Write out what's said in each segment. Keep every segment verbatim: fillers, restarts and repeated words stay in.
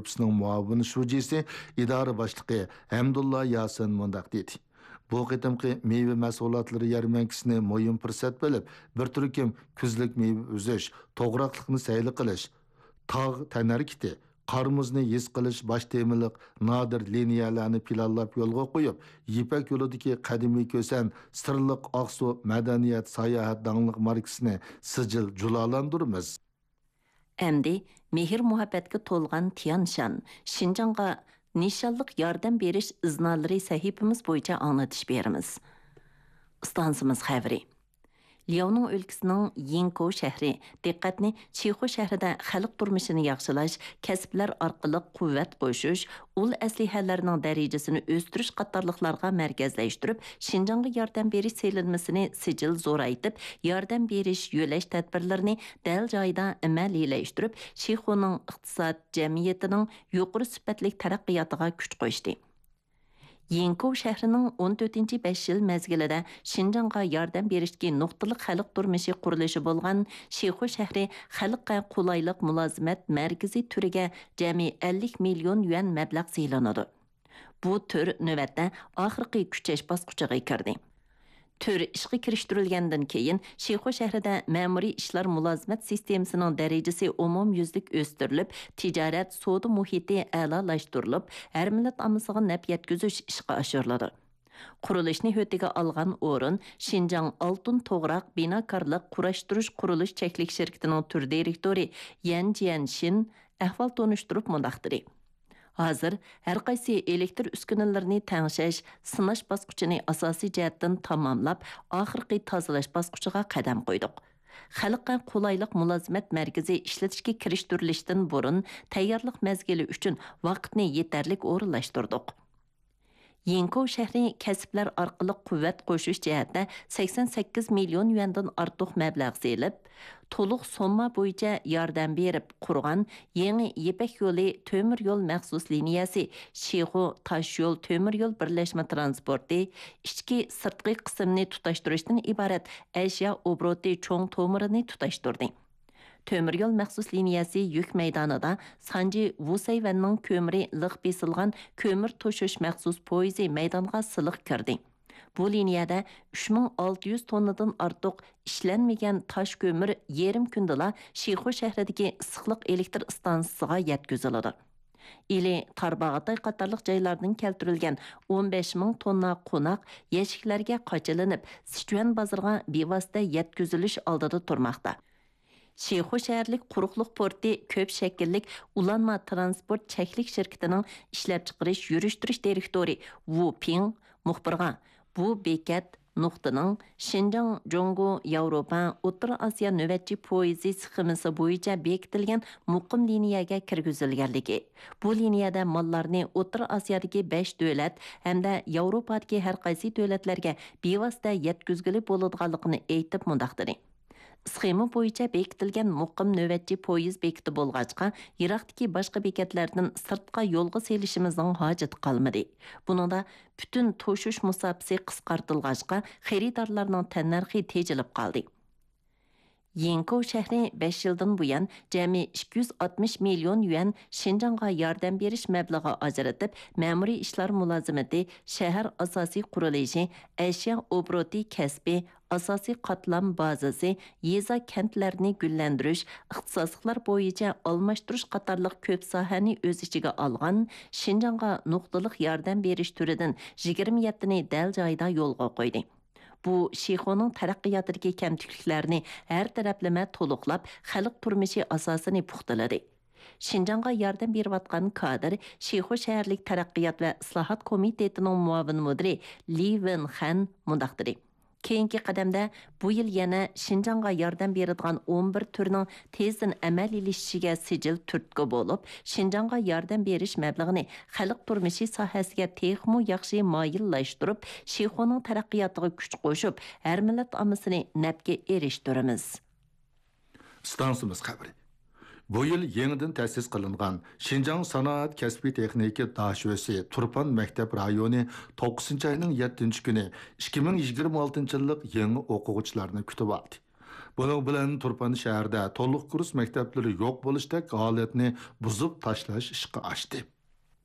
ئىدارىسىنىڭ مۇئاۋىن شۇجىسى، ئىدارە باشلىقى ھەمدۇللا ياسىن مۇنداق دېدى: بۇ قېتىمقى مېۋە مەھسۇلاتلىرى يەرمەنكىسىنى مۇھىم پۇرسەت بىلىپ، بىر تۈركۈم كۈزلۈك مېۋە ئۈزۈش، توغراقلىقنى سەيلە قىلىش، تاغ تەنھەرىكىتى، قار-مۇزنى ھېس قىلىش باش تېمىلىق نادىر لىنىيەلەرنى پىلانلاپ يولغا قويۇپ، يىپەك يولىدىكى قەدىمىي كۈسەن سىرلىق ئاقسۇ مەدەنىيەت ساياھەت داڭلىق ماركىسىنى سىجىل جۇلالاندۇرىمىز. ئەمدى مېھىر-مۇھەببەتكە تولغان تيانشان، شىنجاڭغا نىشانلىق ياردەم بېرىش ئىزنالىرى سەھىپىمىز بويىچە ئاڭلىتىش بېرىمىز. ئىستانسىمىز خەۋىرى. لياۋنىڭ ئۆلكىسىنىڭ يىڭكو شەھىرى دىققەتنى شىخۇ شەھىرىدە خەلق تۇرمۇشىنى ياخشىلاش، كەسىپلەر ئارقىلىق قۇۋۋەت قوشۇش، ئۇل ئەسلىھەلەرنىڭ دەرىجىسىنى ئۆستۈرۈش قاتارلىقلارغا مەركەزلەشتۈرۈپ، شىنجاڭغا ياردەم بېرىش سېلىنمىسىنى سىجىل زورايتىپ، ياردەم بېرىش، يۆلەش تەدبىرلىرىنى دەل جايىدا ئەمەلىيلەشتۈرۈپ، شىخۇنىڭ ئىقتىساد، جەمئىيىتىنىڭ يۇقىرى سۈپەتلىك تەرەققىياتىغا كۈچ قوشتى. يىڭكو شەھىرىنىڭ ئون تۆتىنچى بەش يىل مەزگىلىدە شىنجاڭغا ياردەم بېرىشتىكى نۇقتىلىق خەلق تۇرمۇشى قۇرۇلۇشى بولغان شىخۇ شەھىرى خەلققە قولايلىق مۇلازىمەت مەركىزى تۈرىگە جەمئىي ئەللىك مىليون يۈەن مەبلەغ سېلىنىدۇ. بۇ تۈر نۆۋەتتە ئاخىرقى كۈچەش باسقۇچىغا كىردى. تۈر ئىشقا كىرىشتۈرۈلگەندىن كېيىن، شىخۇ شەھىرىدە مەمۇرىي ئىشلار مۇلازىمەت سىستېمىسىنىڭ دەرىجىسى ئومۇميۈزلۈك ئۆستۈرۈلۈپ، تىجارەت، سودا مۇھىتى ئەلالاشتۇرۇلۇپ، ھەر مىللەت ئاممىسىغا نەپ يەتكۈزۈش ئىشقا ئاشۇرۇلىدۇ. قۇرۇلۇشنى ھۆددىگە ئالغان ئورۇن شىنجاڭ ئالتۇن توغراق بىناكارلىق قۇراشتۇرۇش قۇرۇلۇش چەكلىك شىركىتىنىڭ تۈر دىرېكتورى يەن جيەنشىن ئەھۋال تونۇشتۇرۇپ مۇنداق دېدى: ھازىر ھەر قايسى ئېلېكتر ئۈسكۈنىلىرىنى تەڭشەش، سىناش باسقۇچىنى ئاساسىي جەھەتتىن تاماملاپ، ئاخىرقى تازىلاش باسقۇچىغا قەدەم قويدۇق. خەلققە قولايلىق مۇلازىمەت مەركىزى ئىشلىتىشكە كىرىشتۈرۈلۈشتىن بۇرۇن، تەييارلىق مەزگىلى ئۈچۈن ۋاقىتنى يېتەرلىك ئورۇنلاشتۇردۇق. يىڭكو شەھىرى كەسىپلەر ئارقىلىق قۇۋۋەت قوشۇش جەھەتتە سەكسەن سەككىز مىليون يۈەندىن ئارتۇق مەبلەغ سېلىپ، تولۇق سومما بويىچە ياردەم بېرىپ قۇرغان يېڭى يىپەك يولى تۆمۈر يول مەخسۇس لىنىيەسى، شىخۇ تاش يول تۆمۈر يول بىرلەشمە تىرانسپورتى، ئىچكى، سىرتقى قىسىمنى تۇتاشتۇرۇشتىن ئىبارەت ئەشيا ئوبوروتى چوڭ تومۇرىنى تۇتاشتۇردى. تۆمۈر يول مەخسۇس لىنىيەسى يۈك مەيدانىدا سانجى ۋۇسەيۋەننىڭ كۆمۈرى لىق بېسىلغان كۆمۈر توشۇش مەخسۇس پويىزى مەيدانغا سىلىق كىردى. بۇ لىنىيەدە ئۈچ مىڭ ئالتە يۈز توننىدىن ئارتۇق ئىشلەنمىگەن تاش كۆمۈر يېرىم كۈندىلا شىخۇ شەھىرىدىكى ئىسسىقلىق ئېلېكتر ئىستانسىسىغا يەتكۈزۈلىدۇ. ئىلى تارباغاتاي قاتارلىق جايلاردىن كەلتۈرۈلگەن ئون بەش مىڭ توننا قوناق يەشىكلەرگە قاچىلىنىپ، سىچۈەن بازىرىغا بىۋاسىتە يەتكۈزۈلۈش ئالدىدا تۇرماقتا. شىخۇ شەھەرلىك قۇرۇقلۇق پورتى كۆپ شەكىللىك ئۇلانما تىرانسپورت چەكلىك شىركىتىنىڭ ئىشلەپچىقىرىش يۈرۈشتۈرۈش دىرېكتورى ۋۇ پىڭ مۇخبىرغا، بۇ بېكەت نۇقتىنىڭ شىنجاڭ، جۇڭگو، ياۋروپا، ئوتتۇرا ئاسىيا نۆۋەتچى پويىزى سخېمىسى بويىچە بېكىتىلگەن مۇقىم لىنىيەگە كىرگۈزۈلگەنلىكى، بۇ لىنىيەدە ماللارنى ئوتتۇرا ئاسىيادىكى بەش دۆلەت ھەمدە ياۋروپادىكى ھەر قايسى دۆلەتلەرگە بىۋاسىتە يەتكۈزگىلى بولىدىغانلىقىنى ئېيتىپ مۇنداق دېدى: سخېما بويىچە بېكىتىلگەن مۇقىم نۆۋەتچى پويىز بېكىتى بولغاچقا، يىراقتىكى باشقا بېكەتلەردىن سىرتقا يولغا سېلىشىمىزنىڭ ھاجىتى قالمىدى. بۇنىڭدا پۈتۈن توشۇش مۇساپىسى قىسقارتىلغاچقا، خېرىدارلارنىڭ تەننەرخى تېجىلىپ قالدى. يىڭكو شەھىرى بەش يىلدىن بۇيان جەمئىي ئىككى يۈز ئاتمىش مىليون يۈەن شىنجاڭغا ياردەم بېرىش مەبلىغى ئاجرىتىپ، مەمۇرىي ئىشلار مۇلازىمىتى، شەھەر ئاساسىي قۇرۇلۇشى، ئەشيا ئوبوروتى كەسپى، ئاساسىي قاتلام بازىسى، يېزا، كەنتلەرنى گۈللەندۈرۈش، ئىختىساسلىقلار بويىچە ئالماشتۇرۇش قاتارلىق كۆپ ساھەنى ئۆز ئىچىگە ئالغان شىنجاڭغا نۇقتىلىق ياردەم بېرىش تۈرىدىن يىگىرمە يەتتىنى دەل جايىدا يولغا قويدى. بۇ شىخۇنىڭ تەرەققىياتىدىكى كەمتۈكلۈكلەرنى ھەر تەرەپلىمە تولۇقلاپ، خەلق تۇرمۇشى ئاساسىنى پۇختىلىدى. شىنجاڭغا ياردەم بېرىۋاتقان كادىر، شىخۇ شەھەرلىك تەرەققىيات ۋە ئىسلاھات كومىتېتىنىڭ مۇئاۋىن مۇدىرى لى ۋېنخەن مۇنداق دېدى: كېيىنكى قەدەمدە بۇ يىل يەنە شىنجاڭغا ياردەم بېرىدىغان ئون بىر تۈرنىڭ تېزدىن ئەمەلىيلىشىشىگە سىجىل تۈرتكە بولۇپ، شىنجاڭغا ياردەم بېرىش مەبلىغىنى خەلق تۇرمۇشى ساھەسىگە تېخىمۇ ياخشى مايىللاشتۇرۇپ، شىخۇنىڭ تەرەققىياتىغا كۈچ قوشۇپ، ھەر مىللەت ئاممىسىنى نەپكە ئېرىشتۈرىمىز. ئىستانسىمىز خەۋىرى. بۇ يىل يېڭىدىن تەسىس قىلىنغان شىنجاڭ سانائەت كەسپىي تېخنىكا داشۆسى تۇرپان مەكتەپ رايونى توققۇزىنچى ئاينىڭ يەتتىنچى كۈنى ئىككى مىڭ يىگىرمە ئالتىنچى يىللىق يېڭى ئوقۇغۇچىلارنى كۈتۈۋالدى. بۇنىڭ بىلەن تۇرپان شەھىرىدە تولۇق كۇرس مەكتەپلىرى يوق بولۇشتەك ھالەتنى بۇزۇپ تاشلاش ئىشقا ئاشتى.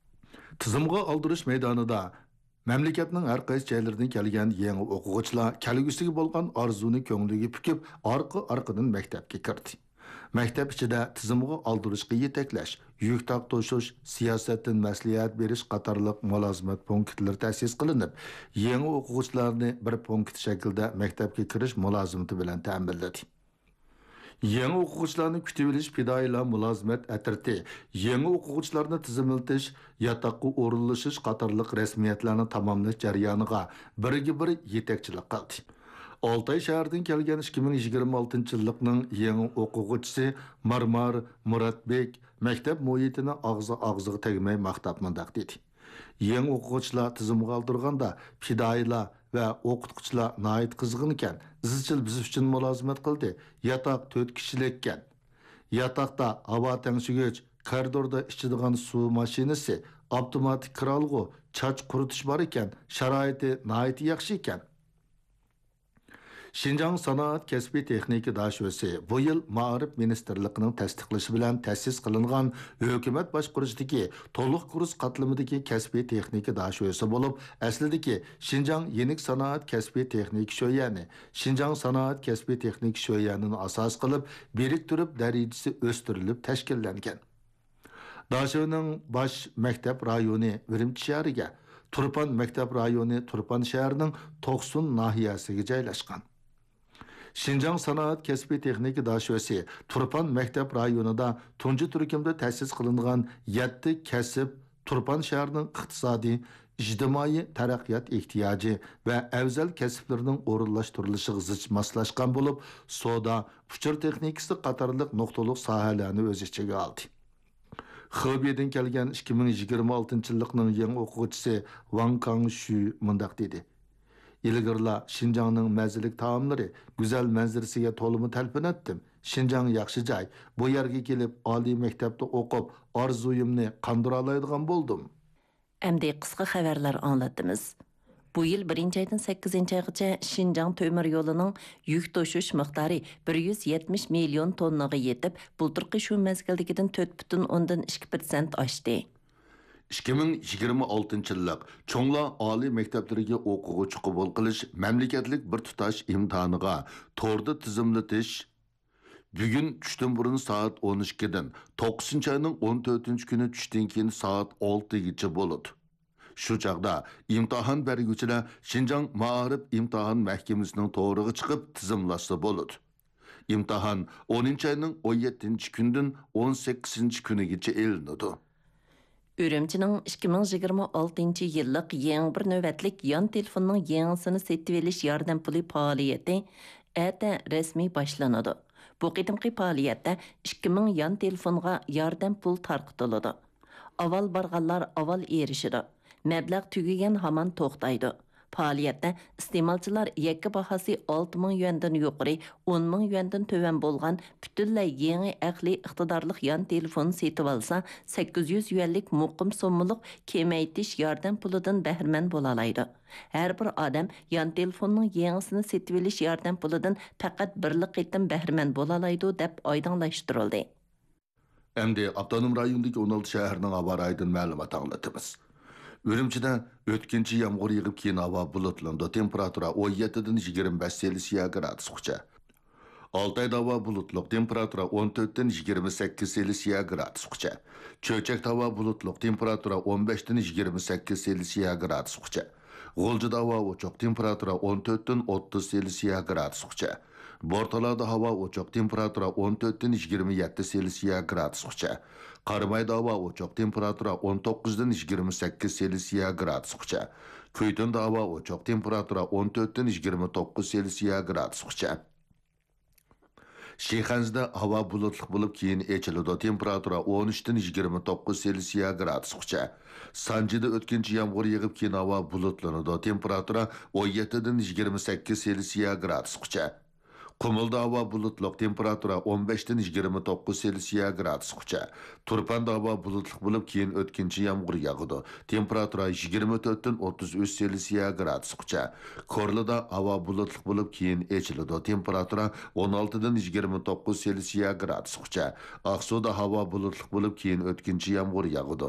تىزىمغا ئالدۇرۇش مەيدانىدا مەملىكەتنىڭ ھەر قايسى جايلىرىدىن كەلگەن يېڭى ئوقۇغۇچىلار كەلگۈسىگە بولغان ئارزۇنى كۆڭلىگە پۈكۈپ، ئارقا-ئارقىدىن مەكتەپكە كىردى. مەكتەپ ئىچىدە تىزىمغا ئالدۇرۇشقا يېتەكلەش، يۈك تارتىشىش، سىياسەتتىن مەسلىھەت بېرىش قاتارلىق مۇلازىمەت پونكىتلىرى تەسىس قىلىنىپ، يېڭى ئوقۇغۇچىلارنى بىر پونكىت شەكلىدە مەكتەپكە كىرىش مۇلازىمىتى بىلەن تەمىنلىدى. يېڭى ئوقۇغۇچىلارنى كۈتۈۋېلىش پىدائىيلار مۇلازىمەت ئەترىتى، يېڭى ئوقۇغۇچىلارنى تىزىملىتىش، ياتاققا ئورۇنلىشىش قاتارلىق رەسمىيەتلەرنى تاماملاش جەريانىغا بىرگە بىر يېتەكچىلىك قىلدى. ئالتاي شەھىرىدىن كەلگەن ئىككى مىڭ يىگىرمە ئالتىنچى يىللىقنىڭ يېڭى ئوقۇغۇچىسى مارمار مۇراتبېك مەكتەپ مۇھىتىنى ئاغزى ئاغزىغا تەگمەي ماختاپ مۇنداق دېدى: يېڭى ئوقۇغۇچىلار تىزىمغا ئالدۇرغاندا پىدائىيلار ۋە ئوقۇتقۇچىلار ناھايىتى قىزغىن ئىكەن، ئىزچىل بىز ئۈچۈن مۇلازىمەت قىلدى، ياتاق تۆت كىشىلىككەن. ياتاقتا ھاۋا تەڭشىگۈچ، كارىدوردا ئىچىدىغان سۇ ماشىنىسى، ئاپتوماتىك كىرئالغۇ، چاچ قۇرۇتۇش بار ئىكەن، شارائىتى ناھايىتى ياخشى ئىكەن. شىنجاڭ سانائەت كەسپىي تېخنىكا داشۆسى بۇ يىل مائارىپ مىنىستىرلىقىنىڭ تەستىقلىشى بىلەن تەسىس قىلىنغان ھۆكۈمەت باشقۇرۇشىدىكى تولۇق كۇرس قاتلىمىدىكى كەسپىي تېخنىكا داشۆسى بولۇپ، ئەسلىدىكى شىنجاڭ يېنىك سانائەت كەسپىي تېخنىكا شۆيەنى، شىنجاڭ سانائەت كەسپىي تېخنىكا شۆيەنىنى ئاساس قىلىپ، بىرىكتۈرۈپ دەرىجىسى ئۆستۈرۈلۈپ تەشكىللەنگەن. داشۆنىڭ باش مەكتەپ رايونى ئۈرۈمچى شەھىرىگە، تۇرپان مەكتەپ رايونى تۇرپان شەھىرىنىڭ توقسۇن ناھىيەسىگە جايلاشقان. شىنجاڭ سانائەت كەسپىي تېخنىكا داشۆسى تۇرپان مەكتەپ رايونىدا تۇنجى تۈركۈمدە تەسىس قىلىنغان يەتتە كەسىپ تۇرپان شەھىرىنىڭ ئىقتىسادىي، ئىجتىمائىي تەرەققىيات ئېھتىياجى ۋە ئەۋزەل كەسىپلىرىنىڭ ئورۇنلاشتۇرۇلۇشىغا زىچ ماسلاشقان بولۇپ، سودا، ئۇچۇر تېخنىكىسى قاتارلىق نۇقتىلىق ساھەلەرنى ئۆز ئىچىگە ئالدى. خېبېيدىن كەلگەن ئىككى مىڭ يىگىرمە ئالتىنچى يىللىقنىڭ يېڭى ئوقۇغۇچىسى ۋاڭ كاڭشۈ مۇنداق دېدى: ئىلگىرىلا شىنجاڭنىڭ مەززىلىك تائاملىرى، گۈزەل مەنزىرىسىگە تولىمۇ تەلپۈنەتتىم. شىنجاڭ ياخشى جاي، بۇ يەرگە كېلىپ ئالىي مەكتەپتە ئوقۇپ، ئارزۇيۇمنى قاندۇرالايدىغان بولدۇم. ئەمدى قىسقا خەۋەرلەر ئاڭلىتىمىز. بۇ يىل بىرىنچى ئايدىن سەككىزىنچى ئايغىچە شىنجاڭ تۆمۈر يولىنىڭ يۈك توشۇش مىقدارى بىر يۈز يەتمىش مىليون توننىغا يېتىپ، بۇلتۇرقى شۇ مەزگىلدىكىدىن تۆت پۈتۈن ئوندىن ئىككى پىرسەنت ئاشتى. ئىككى مىڭ يىگىرمە ئالتىنچى يىللىق چوڭلار ئالىي مەكتەپلىرىگە ئوقۇغۇچى قوبۇل قىلىش مەملىكەتلىك بىر تۇتاش ئىمتىھانىغا توردا تىزىملىتىش بۈگۈن چۈشتىن بۇرۇن سائەت ئون ئىككىدىن، توققۇزىنچى ئاينىڭ ئون تۆتىنچى كۈنى چۈشتىن كېيىن سائەت ئالتىگىچە بولىدۇ. شۇ چاغدا ئىمتىھان بەرگۈچىلەر شىنجاڭ مائارىپ ئىمتىھان مەھكىمىسىنىڭ تورىغا چىقىپ تىزىملاشسا بولىدۇ. ئىمتىھان ئونىنچى ئاينىڭ ئون يەتتىنچى كۈنىدىن ئون سەككىزىنچى كۈنىگىچە ئېلىنىدۇ. ئۈرۈمچىنىڭ ئىككى مىڭ يىگىرمە ئالتىنچى يىللىق يېڭى بىر نۆۋەتلىك يان تېلېفوننىڭ يېڭىسىنى سېتىۋېلىش ياردەم پۇلى پائالىيىتى ئەتە رەسمىي باشلىنىدۇ. بۇ قېتىمقى پائالىيەتتە ئىككى مىڭ يان تېلېفونغا ياردەم پۇل تارقىتىلىدۇ. ئاۋۋال بارغانلار ئاۋۋال ئېرىشىدۇ. مەبلەغ تۈگىگەن ھامان توختايدۇ. پائالىيەتتە ئىستېمالچىلار يەككە باھاسى ئالتە مىڭ يۈەندىن يۇقىرى، ئون مىڭ يۈەندىن تۆۋەن بولغان پۈتۈنلەي يېڭى ئەقلىي ئىقتىدارلىق يان تېلېفون سېتىۋالسا، سەككىز يۈز يۈەنلىك مۇقىم سوممىلىق كېمەيتىش ياردەم پۇلىدىن بەھرىمەن بولالايدۇ. ھەر بىر ئادەم يان تېلېفوننىڭ يېڭىسىنى سېتىۋېلىش ياردەم پۇلىدىن پەقەت بىرلا قېتىم بەھرىمەن بولالايدۇ، دەپ ئايدىڭلاشتۇرۇلدى. ئەمدى ئاپتونوم رايوندىكى ئون ئالتە شەھەرنىڭ ھاۋا رايىدىن مەلۇمات ئاڭلىتىمىز. ئۈرۈمچىدە ئۆتكۈنچى يامغۇر يېغىپ، كېيىن ھاۋا بۇلۇتلىنىدۇ. تېمپېراتۇرا ئون يەتتىدىن يىگىرمە بەش سېلسىيە گرادۇسقىچە. ئالتايدا ھاۋا بۇلۇتلۇق، تېمپېراتۇرا ئون تۆتتىن يىگىرمە سەككىز سېلسىيە گرادۇسقىچە. چۆچەكتە ھاۋا بۇلۇتلۇق، تېمپېراتۇرا ئون بەشتىن يىگىرمە سەككىز سېلسىيە گرادۇسقىچە. غۇلجىدا ھاۋا ئوچۇق، تېمپېراتۇرا ئون تۆتتىن ئوتتۇز سېلسىيە گرادۇسقىچە. بورتالادا ھاۋا ئوچۇق، تېمپېراتۇرا ئون تۆتتىن يىگىرمە يەتتە سېلسىيە گرادۇسقىچە. قارامايدا ھاۋا ئوچۇق، تېمپېراتۇرا ئون توققۇزدىن يىگىرمە سەككىز سېلسىيە گرادۇسقىچە. كۈيتۇندا ھاۋا ئوچۇق، تېمپېراتۇرا ئون تۆتتىن يىگىرمە توققۇز سېلسىيە گرادۇسقىچە. شىخەنزىدە ھاۋا بۇلۇتلۇق بولۇپ، كېيىن ئېچىلىدۇ. تېمپېراتۇرا ئون ئۈچتىن يىگىرمە توققۇز سېلسىيە گرادۇسقىچە. سانجىدا ئۆتكۈنچى يامغۇر يېغىپ، كېيىن ھاۋا بۇلۇتلىنىدۇ. تېمپېراتۇرا ئون يەتتىدىن يىگىرمە سەككىز سېلسىيە گرادۇسقىچە. قۇمۇلدا ھاۋا بۇلۇتلۇق، تېمپېراتۇرا ئون بەشتىن يىگىرمە توققۇز سېلسىيە گرادۇسقىچە. تۇرپاندا ھاۋا بۇلۇتلۇق بولۇپ، كېيىن ئۆتكۈنچى يامغۇر ياغىدۇ. تېمپېراتۇرا يىگىرمە تۆتتىن ئوتتۇز ئۈچ سېلسىيە گرادۇسقىچە. كورلىدا ھاۋا بۇلۇتلۇق بولۇپ، كېيىن ئېچىلىدۇ. تېمپېراتۇرا ئون ئالتىدىن يىگىرمە توققۇز سېلسىيە گرادۇسقىچە. ئاقسۇدا ھاۋا بۇلۇتلۇق بولۇپ، كېيىن ئۆتكۈنچى يامغۇر ياغىدۇ.